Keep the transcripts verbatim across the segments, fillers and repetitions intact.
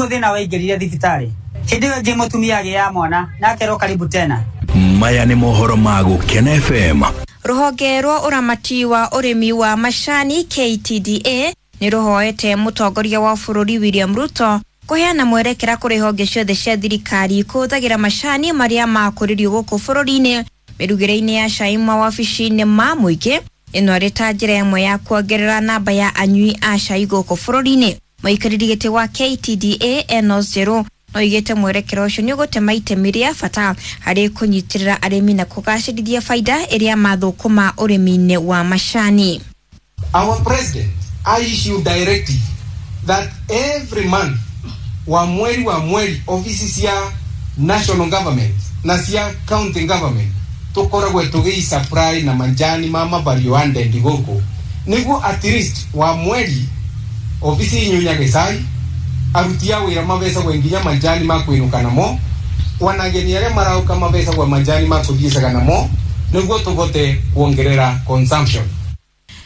Thina waingĩrire thibitarĩ hĩndĩ ĩyo ĩngĩ mũtumia agĩaga mwana na akerwo karibu tena. Maya nĩ mohoro ma Gũkena F M. Rũhonge rwa ũramati wa ũrĩmi wa macani K T D A nĩ rũhoete mũtongoria wa bũrũri William Ruto kũheana mwerekera kũrĩ honge ciothe cia thirikari kũhũthagĩra macani marĩa makũrĩrio gũkũ bũrũri-inĩ mĩrugĩre-inĩ ya cai mawabici-inĩ ma mũingĩ. Ĩno ĩrĩ ta njĩra ĩmwe ya kuongerera namba ya anyui a cai gũkũ bũrũri-inĩ. Mũikarĩri gĩtĩ wa K T D A Enos Njeru oigĩte mwerekera ũcio nĩ ũgũtema itemi rĩa bata harĩ kũnyitĩrĩra arĩmi na kũgacĩrithia baida ĩrĩa mathũkũma ũrĩmi-inĩ wa macani. Our president issued directive that every month wa mweri wa mweri ofisi cia national government na cia county government tukoragwe tugi supply na manjani mama value added gũkũ nĩguo at least wa mweri ofisi inyunyage cai aruti a wĩra mabecagwo nginya manjani ma kwĩnũka namo wanageni arĩa marauka mabecagwo manjani ma kũthiĩcaga namo nĩguo tũvote kuongerera consumption.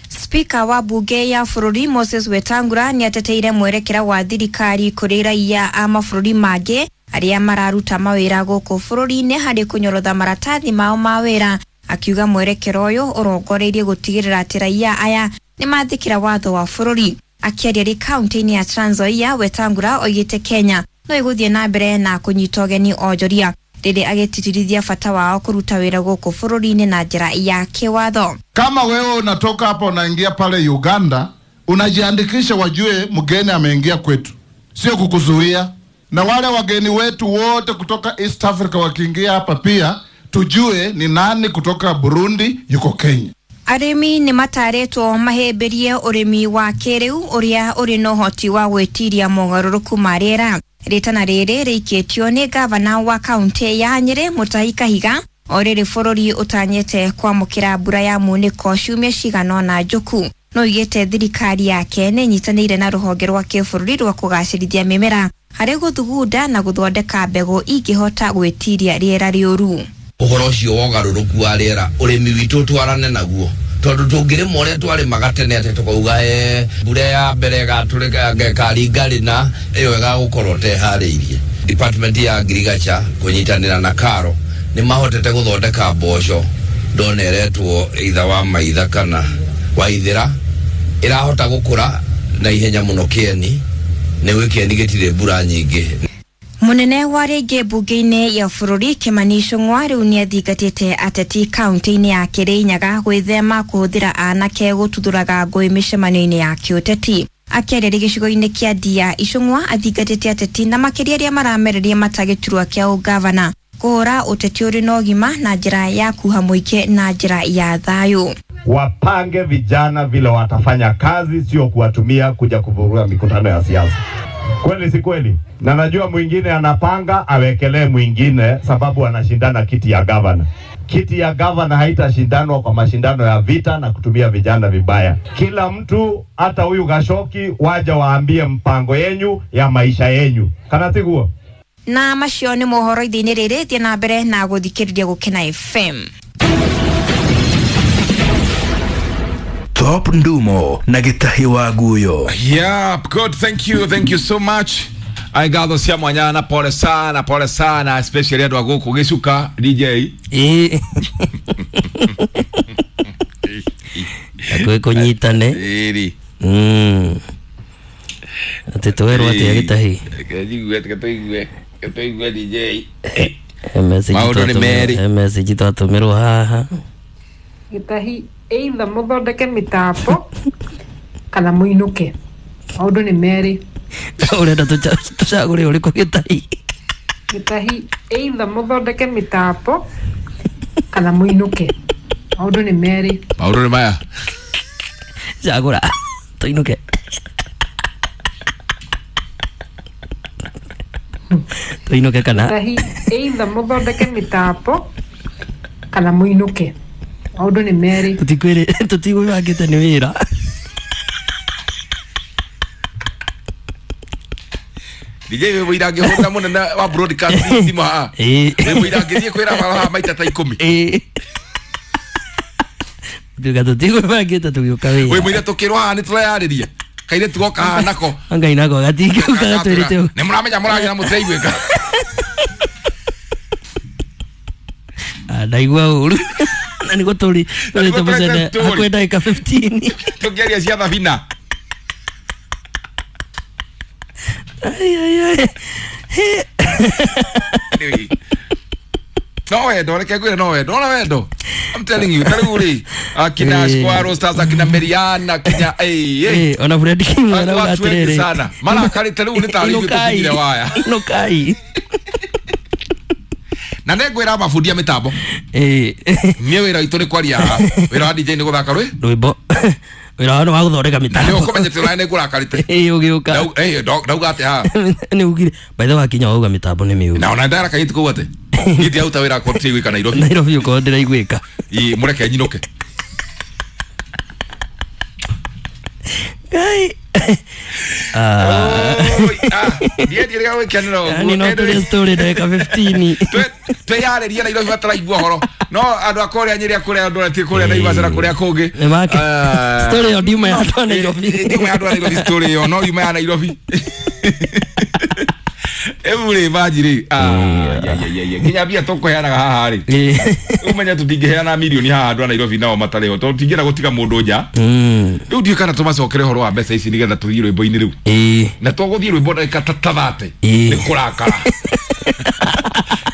Speaker wa bunge ya bũrũri Moses Wetangula nĩ ateteire mwerekera wa thirikari kũrĩ raia a mabũrũri mangĩ arĩa mararuta mawĩra gũkũ bũrũri-inĩ harĩ kũnyorotha maratathi mao ma wĩra, akiuga mwerekera ũyũ ũrongoreirie gũtigĩrĩra atĩ raia aya nĩ mathĩkĩra watho wa bũrũri. Akĩaria rĩ kaunti-inĩ ya Trans Nzoia, Wetangula oigĩte Kenya no ĩgũthiĩ na mbere na kũnyita ũgeni onjoria rĩrĩa agĩtitirithia bata wao kũruta wĩra gũkũ bũrũri-inĩ na njĩra ya kĩwatho. Kama wewe unatoka hapa unaingia pale Uganda, unajiandikisha wajue mgeni ameingia kwetu, sio kukuzuia. Na wale wageni wetu wote kutoka East Africa wakiingia hapa pia tujue ni nani kutoka Burundi yuko Kenya. Arĩmi nĩ matarĩtwo mahĩmbĩrie ũrĩmi wa kĩrĩu ũrĩa ũrĩ na ũhoti wa gwĩtiria mogarũrũku ma rĩera. Rĩtana rĩrĩ rĩikĩtio nĩ gavana wa kaunti ya Nyĩrĩ Mutahi Kahiga o rĩrĩ bũrũri ũtanyĩte kwamũkĩra mbura ya munĩko ciumia cigana ũna njũku. No oigĩte thirikari yake nĩ ĩnyitanĩire na rũhonge rwa kĩbũrũri rwa kũgacĩrithia mĩmera harĩ gũthugunda na gũthondeka mbegũ ingĩhota gwĩtiria rĩera rĩũru. Ũhoro ũcio wa ũgarũrũku wa rĩera ũrĩmi witũ twarane naguo tondũ tũngĩrĩma ũrĩa twarĩmaga tene atĩ tũkauga eh, mbura ya mbere ĩgatũrĩka ĩkaringa rĩna ĩyo ĩgagũkorwo teharĩirie. Department ya Agriculture kũnyitanĩra na KALRO nĩ mahotete gũthondeka mboco ndona ĩretwo itha wa maitha kana wa ithĩra ĩrahota gũkũra na ihenya mũno kĩeni nĩ gwĩ kĩeni gĩtirĩ mbura nyingĩ. Munene wa rĩngĩ mbunge-inĩ ya bũrũri Kimani Ichung'wa rĩu nĩathingatĩte ateti kaunti-inĩ ya Kĩrĩnyaga gwĩthema kũhũthĩra anake gũtuthũraga ngũĩ mĩcemanio-inĩ ya kĩũteti. Akĩaria gĩcigo-inĩ kĩa Ndia, Ichung'wa athingatĩte ateti na makĩria arĩa maramereria mata gĩturwa kĩa ũgavana kũhũra ũteti ũrĩ na ũgima na njĩra ya kuha mũingĩ na njĩra ya thayũ. Wapange vijana vile watafanya kazi, sio kuwatumia kuja kuvuruga mikutano ya siasa. Kweli si kweli? Na najua mwingine anapanga awekelee mwingine sababu anashindana kiti ya governor. Kiti ya governor haitashindanwa kwa mashindano ya vita na kutumia vijana vibaya. Kila mtu, hata huyu Gashoki, waja waambie mpango yenyu ya maisha yenyu. Kana tiguo? Na macio nĩ mohoro ithe-inĩ rĩrĩ, thiĩ na mbere na gũthikĩrĩria Gũkena F M. Top Ndumo na Gitahi wa Guyo. Yep, good. Thank you. Thank you so much. I gatho cia mwanya na pole sana, pole sana, especially andũ a gũkũ gĩcuka D J. Ĩĩ. Hakuhĩ kũnyitane. Ĩrĩ. Mm. Atĩ twerwo atĩa Gĩtahi? Reke njigue, reke tũigue, reke tũigue D J. He message Maũndũ nĩ twatũmĩrwo, merĩ. he message twatũmĩrwo haha. Gĩtahi either mũthondeke mĩtambo kana mũinũke. Maũndũ nĩ merĩ. Ũrenda tũcagũre ũrĩkũ Gĩtahi? Gĩtahi either mũthondeke mĩtambo kana mũinũke. Maũndũ nĩ merĩ. Maũndũ nĩ maya. Cagũra tũinũke. Tũinũke kana? Gĩtahi either mũthondeke mĩtambo kana mũinũke. Maũndũ nĩ merĩ. Tũtikwĩrĩ, tũtigwĩbangĩte nĩ wĩra. D J wĩ mũira ngĩhũra mũnene wa broadcast thimũ haha. Ĩĩ. Wĩ mũira ngĩthiĩ kwĩra haha maita ta ikũmi. Ĩĩ. Tuga tũtigwĩbangĩte tũgĩũka wĩra. Wĩ mũira tũkĩrwo haha nĩ tũreyarĩria. Kairĩtu goka haha nako Ngai nako gatingĩũka gatwĩrĩte ũguo. Nĩ mũramenya mũragia na mũtiraiguĩka. Ah, ndaigua ũru. Na nĩguo tũrĩ tũrĩte mũcene hakuhĩ ndagĩka fifteen. Tũkĩaria cia thabina. Ai ai ai. Anyway. No wendo, reke ngwĩre no wendo, no wendo. I'm telling you, tarĩu rĩ, akina Squaro Stars, akina Meriana, akina eh eh. Ona Fred King arauga Watu wengi atĩrĩrĩ. sana. Marakarĩte rĩu nĩ tarĩ ithuĩ tũkinyire waya. Inukai. Na nĩ ngwĩra mabundi a mĩtambo. Eh. Niĩ wĩra witũ nĩ kwaria haha. Wĩra wa D J nĩ gũthaka rwĩ? Rwĩmbo. Wĩra wa nĩ wa gũthondeka Na nĩ mĩtambo. ũkũmenyete ũrĩa nĩ ngũrakarĩte. Ĩĩ ũgĩũka. Ndau- eh, ndauga atĩa haha? Nĩ ugire. By the way wakinya wauga mĩtambo nĩ mĩũru. Na ona ndarakarĩte kũu atĩ. Niĩ ndiaruta wĩra kwa tiraiguĩka Nairobi. Nairobi ũkorwo ndĩraiguĩka. Ĩ mũreke nyinũke. Ngai. Ah. Ndiendirie gwĩkenera ũguo. Yaani no tũrĩ story ndagĩka fifteen. Twĩyarĩrie Nairobi bataraigua ũhoro. No andũ a kũrĩa Nyĩrĩ a kũrĩa andũ arĩa ti kũrĩa Naivasha na kũrĩa kũngĩ. Nĩ make. Ah. Story ĩyo ndiuma ya andũ a Nairobi. Ndiuma ya andũ a Nairobi story ĩyo no yuma ya Nairobi. Ĩu rĩ banji rĩ. Ah, ya ya ya ya. Nginya mbia tũkũheanaga haha rĩ. Ũmenye tũtingĩheana mirioni haha andũ a Nairobi nao matarĩ ho tondũ tũtingĩenda gũtiga mũndũ nja. Rĩu ndiũĩ kana tũmacokere ũhoro wa mbeca ici nĩgetha tũthiĩ rwĩmbo-inĩ rĩu. Na tũgũthiĩ rwĩmbo ndagĩka ta ta thate. Nĩ kũrakara.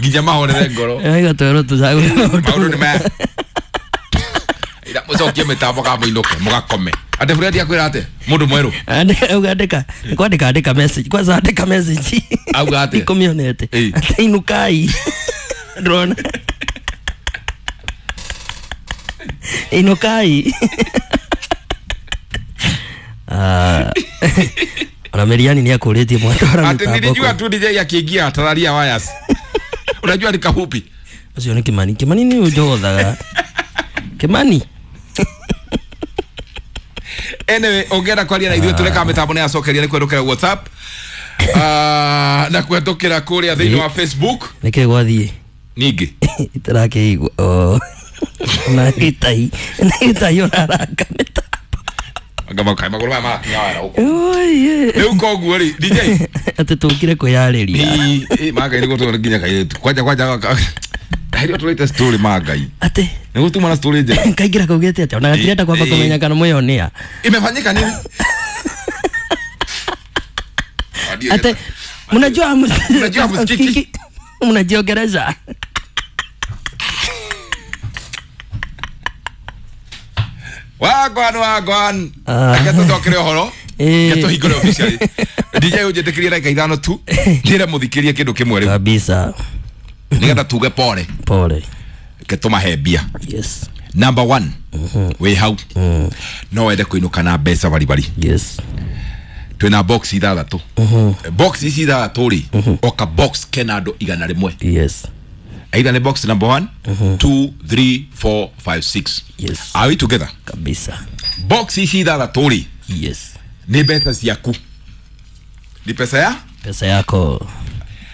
Nginya mahorere ngoro. Aiga twerwo tũcagũre maũndũ. Maũndũ nĩ maya. Ira mũcokie mĩtambo kana mũinũke mũgakome. Ate Fred akwĩra atĩa? Mũndũ mwerũ. Andĩka auga andĩka. Nĩ kwandĩka andĩka message. Kwanza andĩka message. Auga atĩa? Ikũmĩonete. Atĩ inukai. Ndĩrona. Inukai. Ah. Ona Meriani nĩ akũrĩtie mwatwara Ati mĩtambo. nilijua tu D J akiingia tararia wires. Unajua ni kafupi. Ũcio nĩ Kimani. Kimani nĩ ũnjogothaga. Kimani. Anyway, ũngĩenda kwaria na ithuĩ tũreka mĩtambo nĩ yacokeria nĩ kũhetũkĩra WhatsApp. Ah, na kũhetũkĩra kũrĩa thĩinĩ wa Facebook. Nĩkĩ gwathiĩ? Ningĩ. Itarakĩigua. Oh. Na gĩtai. Na gĩtai ũraranga mĩtambo. Anga makai magũrũ maya marakinya wara gũkũ. Oi. Rĩu koguo rĩ, D J. Atĩ tũkire kwĩyarĩria. Ĩ, ĩ, mangai nĩguo tũrĩ nginya kairĩtu. Kwanja kwanja hĩndĩ ĩyo tũrĩte story mangai. Atĩ. Nĩguo tuma na story njega. Kaingĩra kaugĩte atĩa? Ona gatirenda kwamba Ĩ. kũmenya kana mwĩyonea. Imefanyika nini? Ate mnajua Mnajua msikiki. Mnajiongereza. Wagwan wagwan. Ah. Reke tũcokere ũhoro. Ĩ. Reke tũhingũre officially. D J ũnjĩtĩkĩrie ndagĩka ithano tu. Njĩre mũthikĩrie kĩndũ kĩmwe rĩu. Kabisa. Nĩgetha tuge pole. Pole. Reke tũmahe mbia. Yes. Number one. Wĩ hau. No wende kũinũka na mbeca baribari. Yes. Twĩna box ithathatũ. Box ici ithathatũ rĩ, oka box kena andũ igana rĩmwe. Yes. Either nĩ box number one, two, three, four, five, six. Yes. Are we together? Kabisa. Box ici ithathatũ rĩ, Yes. nĩ mbeca ciaku. Ni pesa ya? Pesa yako.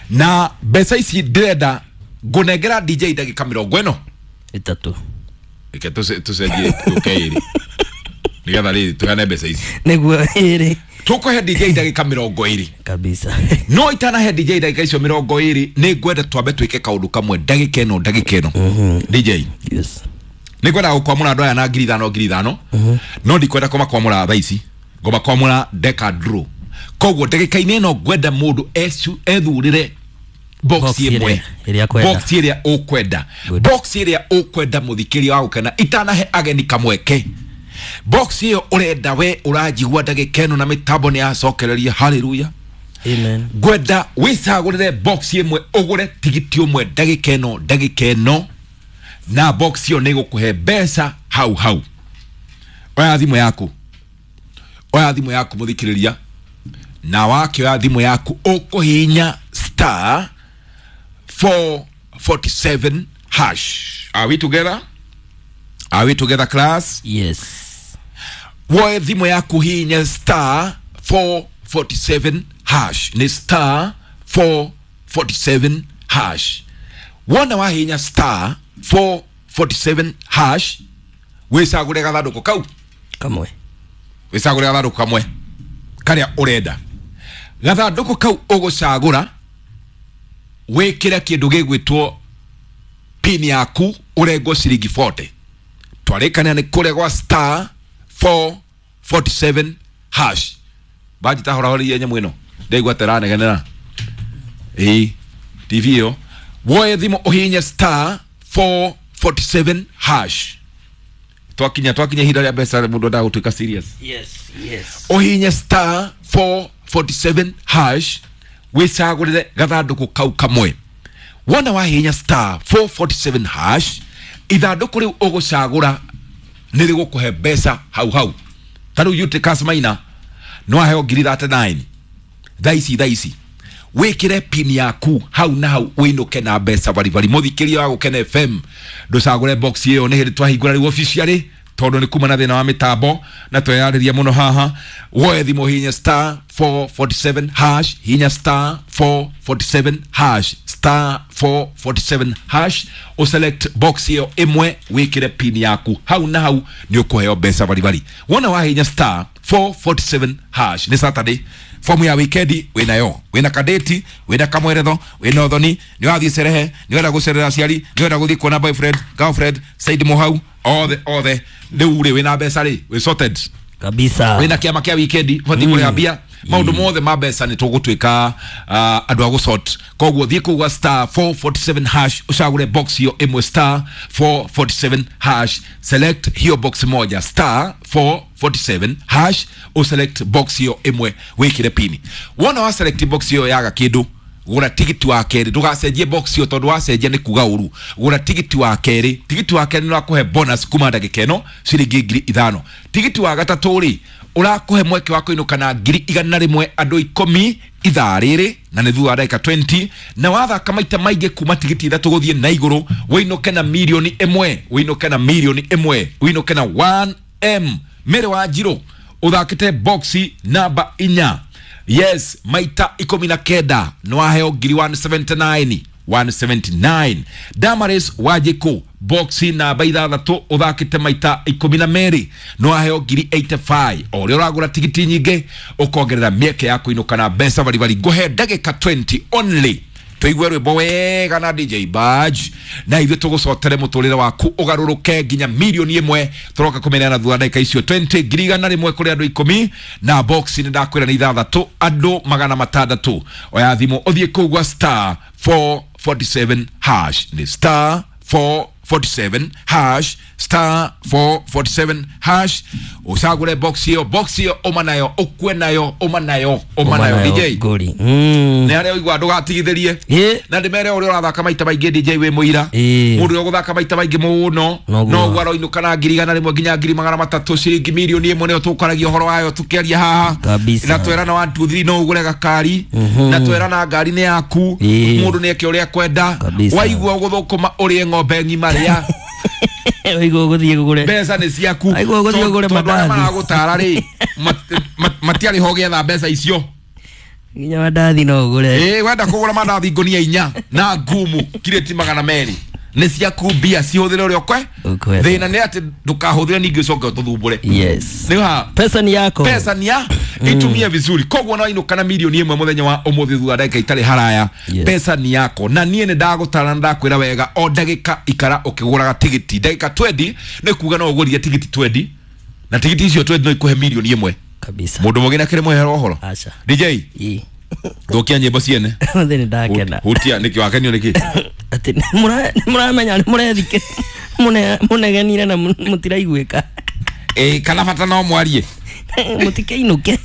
Na mbeca ici ndĩrenda ngũnengera D J ndagĩka mĩrongo ĩno. Ĩtatũ. Reke tũce- tũcenjie tũke ĩrĩ. Nĩgetha rĩrĩ tũheane mbeca ici. Nĩguo ĩrĩ. Tũkũhe D J ndagĩka mĩrongo ĩrĩ. Kabisa. No itanahe D J ndagĩka icio mĩrongo ĩrĩ nĩ ngwenda twambe twĩke kaũndũ kamwe ndagĩka ĩno ndagĩka ĩno. D J. Yes. Nĩ ngwenda gũkwamũra andũ aya na ngiri ithano ngiri ithano. No ndikwenda kũmakwamũra thaa ici. Ngũmakwamũra ndeka draw. Koguo ndagĩka-inĩ ĩno ngwenda mũndũ ecu- ethurĩre box Box ĩmwe. ĩrĩa- ĩrĩa akwenda. Box ĩrĩa ũkwenda. Box ĩrĩa ũkwenda mũthikĩria wa gũkena itanahe ageni kamweke. Box ĩyo ũrenda we ũranjigua ndagĩka ĩno na mĩtambo nĩ yacokereria haleluya. Amen. Ngwenda wĩcagũrĩre box ĩmwe ũgũre tigiti ũmwe ndagĩka ĩno ndagĩka ĩno na box ĩyo nĩ ĩgũkũhe mbeca hau hau. Oya thimũ yaku. Oya thimũ yaku mũthikĩrĩria. Na wakĩoya thimũ yaku ũkũhihinya star four forty-seven hash. Are we together? Are we together, class? Yes. Woe thimũ yaku hihinya star four forty-seven hash. Ni star four forty-seven hash. Wona wahihinya star four forty-seven hash wĩcagũre gathandũkũ kau kamwe. Wĩcagũre gathandũkũ kamwe. karia urenda gathandũkũ kau ũgũcagũra wĩkĩre kĩndũ gĩgwĩtwo pin yaku ũrengwo ciringi forty twarĩkania nĩ kũrĩa gwa star four forty-seven hash baji tahorahoria nyamũ ĩno ndaigua teranegenera ĩĩ T V ĩyo woe thimũ ũhihinye star four forty-seven hash twakinya twakinya ihinda rĩa mbeca mũndũ endaga gũtuĩka serious. Yes, yes. Ũhihinye star four forty-seven hash wĩcagũrĩre gathandũkũ kau kamwe wona wahihinya star four forty-seven hash ithandũkũ rĩu ũgũcagũra nĩ rĩgũkũhe mbeca hau hau ta rĩu Eutychus Maina no aheo ngiri thirty-nine thaa ici thaa ici wĩkĩre pin yaku hau na hau wĩinũke na mbeca baribari mũthikĩria wa Gũkena F M ndũcagũre box ĩyo nĩ hĩndĩ twahingũra rĩu officially tondũ nĩ kuma na thĩna wa mĩtambo na tweyarĩria mũno haha woe thimũ hinya star four forty-seven hash hinya star four forty-seven hash star four forty-seven hash uselect box ĩyo ĩmwe wĩkĩre pin yaku hau na hau nĩ ũkũheo mbeca baribari wona wahinya star four forty-seven hash nĩ Saturday fomu ya wikendi wĩnayo wĩna kadeti wĩna kamweretho wĩna ũthoni nĩ wathiĩ cerehe nĩ wenda gũcerera aciari nĩ wenda gũthiĩ kuona boyfriend girlfriend Said Muhau othe othe rĩu rĩ wĩna mbeca rĩ wĩ sorted kabisa wĩna kĩama kĩa wikendi ũbatiĩ kũrĩha mbia maũndũ mothe ma mbeca nĩ tũgũtuĩka andũ a gũsort koguo thiĩ kũu gwa star four forty-seven hash ũcagũre box hiyo ĩmwe star four forty-seven hash select hiyo box moja star four forty-seven hash uselect box hiyo ĩmwe wĩkĩre pini wona wa select box hiyo yaga kĩndũ gũra tigiti wa kerĩ ndũgacenjie box hiyo tondũ wacenjia nĩ kuga ũru gũra tigiti wa kerĩ tigiti wa kerĩ nĩ ũrakũhe bonus kuma ndagĩka ĩno ciringi ngiri ithano tigiti wa gatatũ rĩ ũrakũhe mweke wa kũinũka na ngiri igana rĩmwe andũ ikũmi ithaa rĩrĩ na nĩ thutha wa ndagĩka twenty na wathaka maita maingĩ kuma tigiti ithatũ gũthiĩ na igũrũ wĩinũke na mirioni ĩmwe wĩinũke na mirioni ĩmwe wĩinũke na one M Mary wa Njirũ ũthakĩte boxi namba inya yes maita ikũmi na kenda nĩ waheo ngiri one seventy-nine one seventy-nine Damaris Wanjikũ boxi namba ithathatũ ũthakĩte maita ikũmi na merĩ nĩ waheo ngiri eighty-five o ũrĩa ũragũra tigiti nyingĩ ũkongerera mĩeke ya kũinũka na mbeca baribari ngũhe ndagĩka twenty only tũigue rwĩmbo wega na D J Badge na ithuĩ tũgũcotere mũtũrĩre waku ũgarũrũke nginya mirioni ĩmwe tũroka kũmenyana thutha ndagĩka icio twenty ngiri igana rĩmwe kũrĩ andũ ikũmi na box nĩ ndakwĩra nĩ ithathatũ andũ magana matandatũ oya thimũ ũthiĩ kũu gwa star four forty-seven hash nĩ star four forty-seven hash star four forty-seven hash ucagure box iyo box iyo uma nayo ukue nayo uma nayo uma nayo D J ngori mm ni aria uigua ndugatigithirie na ndimere uria urathaka maita maingi D J wi muira mundu uguthaka maita maingi muno no guo aroinuka na ngiri igana rimwe nginya ngiri magana matatu ciringi milioni imwe niyo tukaragia uhoro wayo tukiaria haha na twerana one two three no ugure gakari na twerana ngari ni yaku mundu ni eke uria kwenda waigua uguthukuma urie ng'ombe ng'ima ria waigua uguthie gugure mbeca ni ciaku waigua uguthie gugure mandathi maragutara ri matiarĩ ho getha mbeca icio nginya mandathi no ugure eh wenda kugura mandathi ngonia inya na ngumu kireti magana meri ni ciaku mbia cihuthire uria ukwe thina ni ati ndukahuthire ningi ucoke ututhumbure. Yes, ni ha pesa ni yako, pesa ni ya itumie vizuri koguo no inuka na milioni imwe muthenya wa umuthi thutha ndagika itari haraya. Pesa ni yako na nie ni ndagutara ndakwira wega o ndagika ikara ukiguraga tigiti ndagika twenty ni kuga no ugurire tigiti twenty na tigiti icio twenty no ikuhe milioni imwe kabisa. Mundu mugina kire mwehero uhoro acha D J thukia nyimbo ciene muthi ni ndakena hutia niki wakenio niki ati muramenya murethike munegenire na mutiraiguika eh kana bata no mwarie mutikeinuke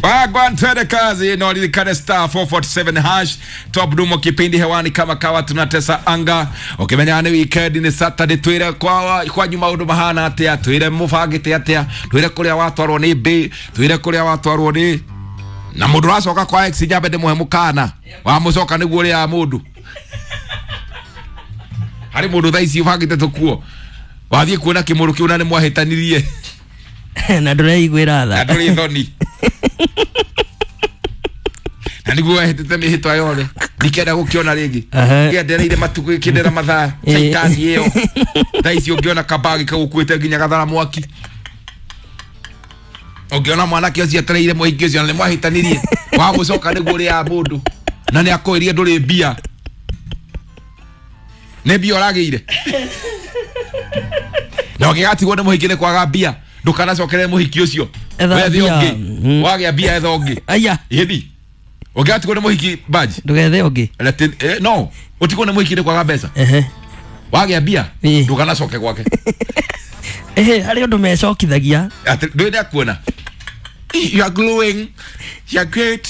Wagwan twende kazi no ririkane star four forty-seven hash top dumo kipindi hewani kama kawa tunatesa anga ukimenya ni weekend ni Saturday twire kwa kwa nyuma undu mahana atia twire mubangite atia twire kuria watwarwo ni B twire kuria watwarwo ni na mundu racoka kwa ex nyambe ndimuhe mukana wa mucoka niguo ria mundu hari mundu thaa ici ubangite tukuo wathie kuona kimuru kiu na ni mwahitanirie na nduraiguira tha na nduri thoni na niguo wahitite mihitwa yothe ndikenda gukiona ringi kiendereire matuku gikindera mathaa caitani iyo thaa ici ungiona kabagi kagukuite nginya gathara mwaki Ũngĩona mwanake ũcio etereire mũhiki ũcio na nĩ mwahĩtanirie wa gũcoka nĩguo ũrĩaga mũndũ na nĩ akwĩrire ndũrĩ mbia nĩ mbia ũragĩire na ũngĩgatigwo nĩ mũhiki nĩ kwaga mbia ndũkanacokerere mũhiki ũcio. Etha wethe mbia. ũngĩ. Mm. Wagĩa mbia etha ũngĩ. Aya. Ĩni ũngĩgatigwo nĩ mũhiki baji ndũgethe ũngĩ. Reti- eh, no ũtigwo nĩ mũhiki nĩ kwaga mbeca. Ehe. Wagĩa mbia Ĩĩ. ndũkanacoke gwake. Ehe, harĩ ũndũ mecokithagia. Atĩ ndũĩ nĩakuona. You are glowing, you are great,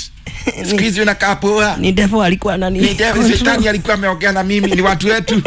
siku hizi unakaa poa. Ni devil alikuwa nani? Ni devil, shetani alikuwa ameongea na mimi, ni watu wetu.